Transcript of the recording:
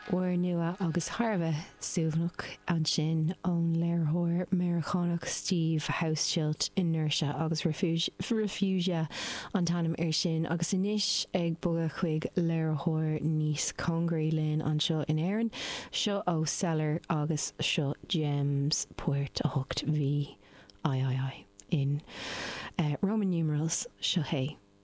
Úrnua agus thar a bheith suaimhneach ansin ón léiritheoir Meiriceánach Steve Hauschildt, Inertia agus Refugia an t-ainm air sin. Agus anois ag bogadh chuig léiritheoir níos cóngaraí linn anseo in Éirinn, seo ó Cellar agus seo Gems, Poirt 8 V III in Roman numerals, seo é.